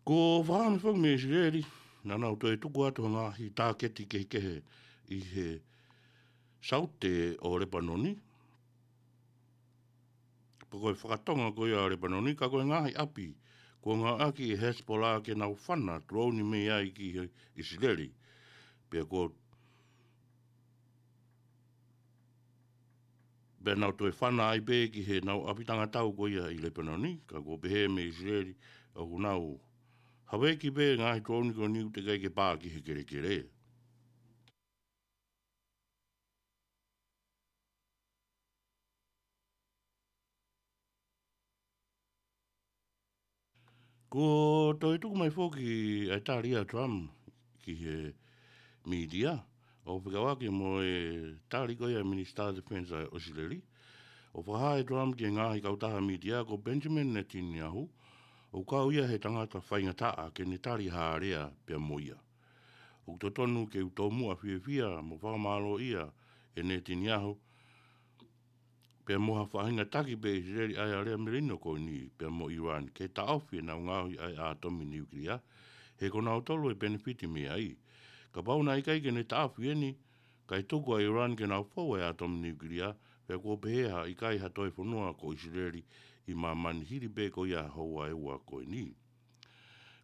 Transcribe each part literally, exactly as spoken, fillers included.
Ko e fakaʻamu foki mei ʻIsileli, naʻa nau toe tuku atu ha ngaahi tāketi kehekehe ʻi he saute ʻo Lepanoni. Pea ko e fakatonga ko ia ʻo Lepanoni, ka ko e ngaahi ʻapi kuo ngāueʻaki ʻe Hezbollah ke nau fana tulouni mei ai ki he ʻIsileli. Pea ko Pea nau toe fana ai pē ki he nau ʻapi tangatau ko ia ʻi Lepanoni, ka kuo pehē mei ʻIsileli ʻoku nau haveki pē ngaahi tulouni ko eni ʻoku teʻeki ai ke pā ki he kelekele. Kuo toe tuku mai foki ʻa e tali ʻa Trump ki he mītia, ʻo fekauʻaki mo e tali ko ia ʻa e Minisitā Defense ʻa ʻIsileli. ʻO fakahā ʻe Trump ki he ngaahi kautaha mītia ko Benjamin Netanyahu, ʻoku kau ia he tangata faingataʻa ke ne tali ha lea pea mo ia. ʻOku totonu ke u tomuʻa fiefia mo fakamālōʻia ʻe Netanyahu, pea mo ha faʻahinga taki pē ʻe ʻIsileli ʻa e lea melino ko eni, pea mo Iran, ke taʻofi ʻenau ngaohi ʻa e ʻātomi niukilia, he ko nautolu ʻe penefiti mei ai. Kapau naʻe ʻikai ke ne taʻofi eni, kae tuku ʻa Iran ke nau fou ʻa e ʻātomi niukilia, pea kuo pehē ʻe ʻikai ha toe fonua ko ʻIsileli ʻi māmani hili pē ko ia houa ʻe ua ko eni.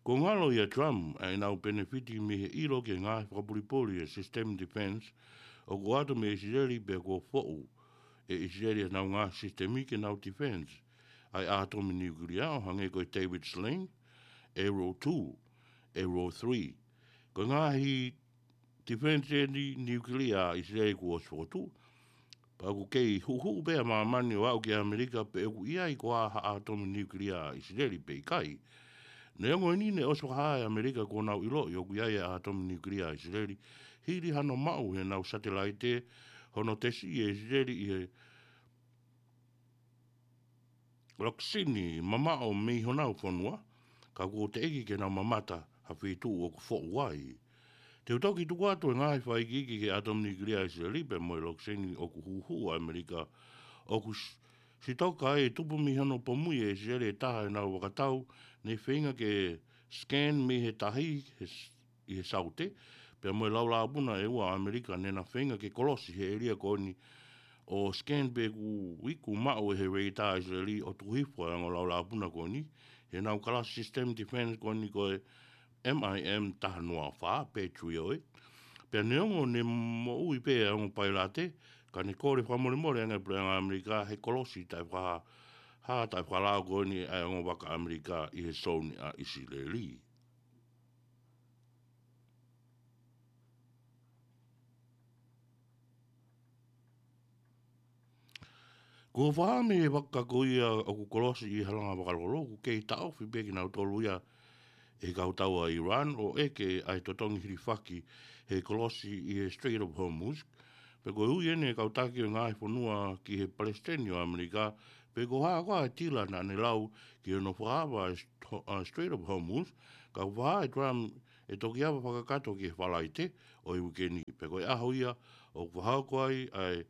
Kuo ngalo ʻia Trump ʻa ʻenau penefiti mei he ʻilo ki he ngaahi fakapulipuli ʻa e system defense ʻoku ʻoatu mei ʻIsileli pea kuo foʻu ʻe ʻIsileli ʻenau ngaahi sisitemi ke nau defense ʻa e ʻātomi niukilia ʻo hangē ko e David Sling, Arrow two, Arrow three. Ko e ngaahi defense eni niukilia ʻa ʻIsileli kuo ʻosi fokotuʻu. Pea ʻoku kei huʻuhuʻu pē ʻa māmani ʻo aʻu ki ʻAmelika pe ʻoku ʻi ai koā ha ʻātomi niukilia ʻa ʻIsileli pe ʻikai. Neongo eni ne ʻosi fakahā ʻe ʻAmelika kuo nau ʻiloʻi ʻoku ʻi ai ʻa e ʻātomi niukilia ʻa ʻIsileli, hili hano maʻu ʻe heʻenau satelaite hono tesi ʻe ʻIsileli ʻi he lokisini mamaʻo mei honau fonua, ka kuo teʻeki ke nau mamata ha feituʻu ʻoku foʻu ai. Te u toki tuku atu e ngaahi fakaikiiki ki he ʻātomi niukilia ʻa ʻIsileli pea mo e lokisini ʻoku huʻuhuʻu ʻa ʻAmelika, ʻoku s-, sitoka ai e tupu mei hono pomui ʻe ʻIsileli e taha ʻenau vakatau ne feinga ke scan mei he tahi he s-, ʻi he saute, pea mo e laulāpuna ʻe ua ʻa ʻAmelika ne na feinga ke kolosi he ʻēlia ko eni ʻo scan pe ʻoku iku maʻu ʻe he radar ʻa ʻIsileli ʻo tuku hifo ʻa e ongo laulāpuna ko eni, heʻenau kalasi system defense ko eni ko e M I M taha noa fā, Patriot. Pea neongo ne moʻui pē ʻa e ongo pailate, ka ne kole fakamolemole ange ʻa e puleʻanga ʻAmelika he kolosi taʻefakahā, taʻefakalao ko eni ʻa e ongo vaka ʻAmelika ʻi he souni ʻa ʻIsileli. Kuo fakahā mei he vaka ko ia ʻoku kolosi ʻi he halanga vakalolo, ʻoku kei taʻofi pē kinautolu ia ʻe he kautau ʻa Iran ʻo ʻeke ʻa e totongi hilifaki he kolosi ʻi he Strait of Hormuz. Pea ko e ui eni ʻa e kau taki ʻo e ngaahi fonua ki he Palesiteni ʻo ʻAmelika, pe ko e hā koā e tila naʻa ne lau ki hono fakaava ʻa e st-, ʻa e Strait of Hormuz, ka ʻoku fakahā ʻe Trump ʻe toki ava fakakakato ki he Falaite ʻo e uike ni, pea ko e ʻaho ia ʻoku fakahoko ai ʻa e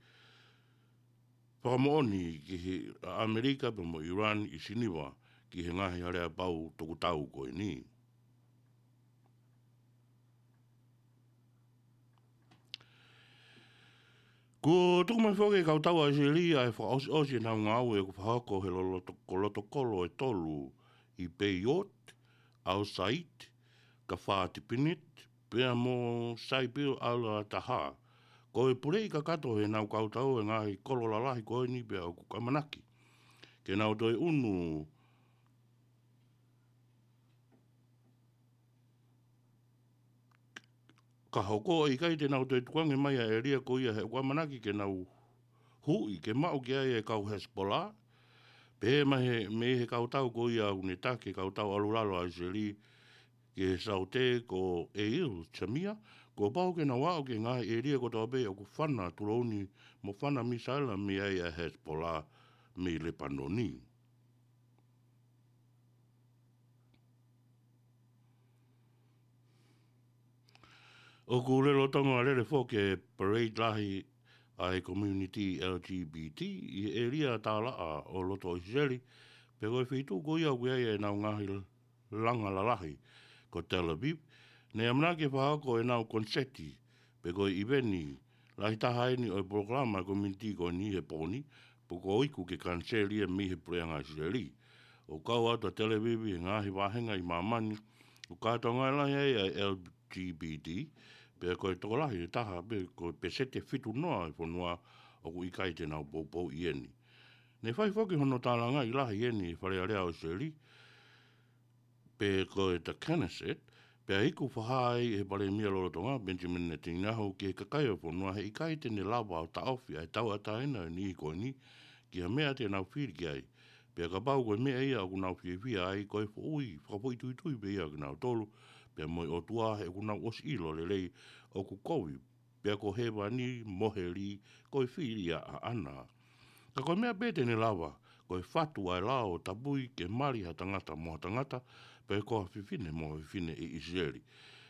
fakamoʻoni ki he, ʻa ʻAmelika pea mo Iran ʻi Siniva ki he ngaahi aleapau tokotau ko eni. Kuo tuku mai foki ʻe he kautau ʻa ʻIsileli ʻa e fakaʻosiʻosi ʻenau ngāue ʻoku fakahoko he loloto-, ko lotokolo ʻe tolu ʻi Beirut, Al Said, Kafar Tibinet, pea mo Saipil Al Taha. Ko e puleʻi kakato heʻenau kautau e ngaahi kolo lalahi ko eni pea ʻoku ʻamanaki ke nau toe ʻunu ka hoko ʻe ʻikai te nau toe tukuange mai ʻa e ʻēlia ko ia he ʻoku ʻamanaki ke nau huʻi ke maʻu ki ai e kau Hezbollah. Pehē mai he, mei he kautau ko ia ʻoku ne taki e kautau ʻalulalo ʻa ʻIsileli ki he saute ko Eil Zamir, kuo pau ke nau aʻu ki he ngaahi ʻēlia kotoa pē ʻoku fana tulouni mo fana misaila mei ai ʻa e Hezbollah mei Lepanoni. ʻOku lolotonga lele foki e parade lahi ʻa e community L G B T ʻi he ʻēlia tālaʻa ʻo loto ʻIsileli, pea ko e feituʻu ko ia ʻoku ʻi ai ʻenau ngaahi langa lalahi ko Tel Aviv, ne ʻamanaki ke fakahoko ʻenau koniseti, pe ko e ʻiveni lahi taha eni ʻo e polokalama kominitī ko eni he pō ni, pea kuo iku ke kaniseli ia mei he puleʻanga ʻIsileli. ʻOku kau atu ʻa Tel Aviv he ngaahi vāhenga ʻi māmani ʻoku kātoanga lahi ai ʻa e L G B T, pea ko e tokolahi ʻe taha pe ko e peseti ʻe fitu noa ʻo e fonua ʻoku ʻikai te nau poupouʻi eni. Ne fai foki hono tālangaʻi lahi eni ʻi he Fale Alea ʻo ʻIsileli, pe ko e Knesset, pea iku fakahā ai ʻe he Palēmia lolotonga, Benjamin Netanyahu, ki he kakai ʻo e fonua he ʻikai te ne lava ʻo taʻofi ʻa e tauʻatāina ʻo e niʻihi ko eni ki ha meʻa te nau fili ki ai. Pea kapau ko e meʻa ia ʻoku nau fiefia ai, ko e foʻui fakafoʻituitui pē ia kinautolu pea mo e ʻOtua, he ʻoku nau ʻosi ʻilo lelei ʻoku kovi, pea ko hēvani mo heli ko e fili ia ʻaʻana. Ka ko e meʻa pē te ne lava, ko e fatu ʻa e lao ʻo tapui ke mali ha tangata mo ha tangata, pe ko ha fefine mo ha fefine ʻi ʻIsileli.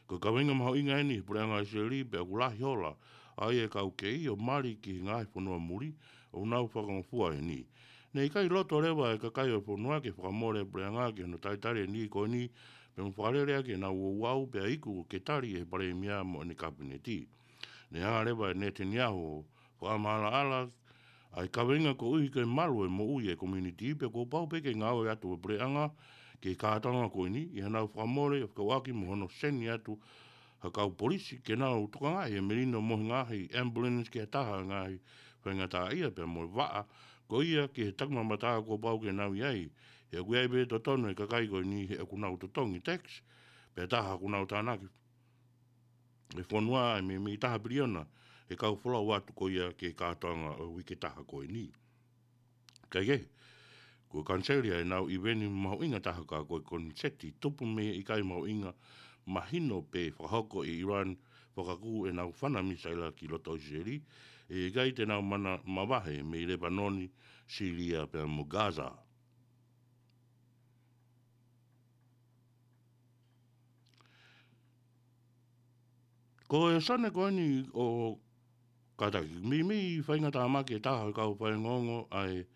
Ko e kaveinga mahuʻinga eni he puleʻanga ʻIsileli, pea ʻoku lahi hola ai e kau kei ʻo mali ki he ngaahi fonua muli ʻoku nau fakangofua eni. Ne ʻikai loto leva e kakai ʻo e fonua ke fakamole e puleʻanga ki hono talitali e niʻihi ko eni, pea mo fakalele ʻaki ʻenau ouau, pea iku ke tali ʻe he Palēmia mo ʻene Kapineti. Ne hanga leva ʻe Netanyahu ʻo fakamaʻalaʻala ʻa e kaveinga koeʻuhi ko e malu e moʻui e kominitī, pea kuo pau pē ke ngāue atu e puleʻanga ki he kātoanga ko eni ʻi haʻanau fakamole, fekauʻaki mo hono seni atu ha kau polisi ke nau tokangaʻi e melino mo e ngaahi ambulance ki ha taha e ngaahi faingataʻaʻia pea mo e vaʻa ko ia ki he takimamatā kuo pau ke nau ʻi ai. He ʻoku ʻi ai pē totonu e kakai ko eni he ʻoku nau totongi tax, pea taha ʻoku nau tānaki e fonua ʻe meimei taha piliona he kau folau atu ko ia ki he kātoanga ʻo e uike taha ko eni. Kaekehe, kuo kaniseli ʻenau ʻiveni mahuʻinga taha ka ko e koniseti tupu mei he ʻikai mahuʻinga mahino pē fakahoko ʻe ʻIran fakakū ʻenau fana misaila ki loto ʻIsileli, ʻe ʻikai te nau mana mavahe mei Lepanoni, Sīlia pea mo Gaza. Ko e sone ko eni ʻoku kātaki, meimei faingataʻa mai ki he taha ʻo e kau faiongoongo ʻa e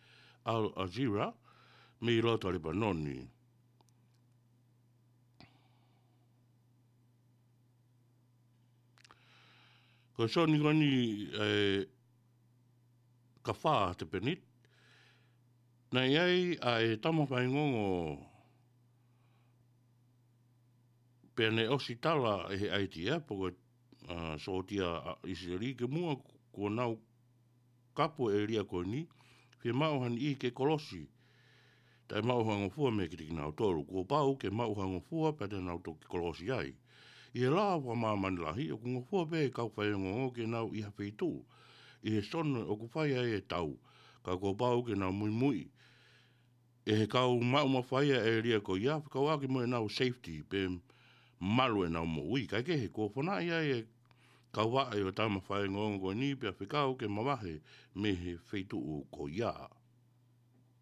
Al Jazeera mei loto Lepanoni. Ko e sone ko eni ʻe Kafar Tepenit, naʻe ʻi ai ʻa e tama faiongoongo pea ne ʻosi tala ʻe he ʻAitiea, pe ko e, ʻa, sōtia ʻa ʻIsileli kimuʻa kuo nau kapu e ʻēlia ko eni, fiemaʻu ha niʻihi ke kolosi taʻe maʻu ha ngofua meiate kinautolu. Kuo pau ke maʻu ha ngofua pea te nau toki kolosi ai. ʻI he lao fakamāmani lahi, ʻoku ngofua pē e kau faiongoongo ke nau ʻi ha feituʻu ʻi he sone ʻoku fai ai e tau, ka kuo pau ke nau muimui ʻe he kau maʻu mafai ʻa e ʻēlia ko ia, fekauʻaki mo ʻenau safety pe malu ʻenau moʻui. Kaekehe, kuo fanaʻi ai e kau vaʻe ʻo e tama faiongoongo ko eni pea fekau ke mavahe mei he feituʻu ko ia.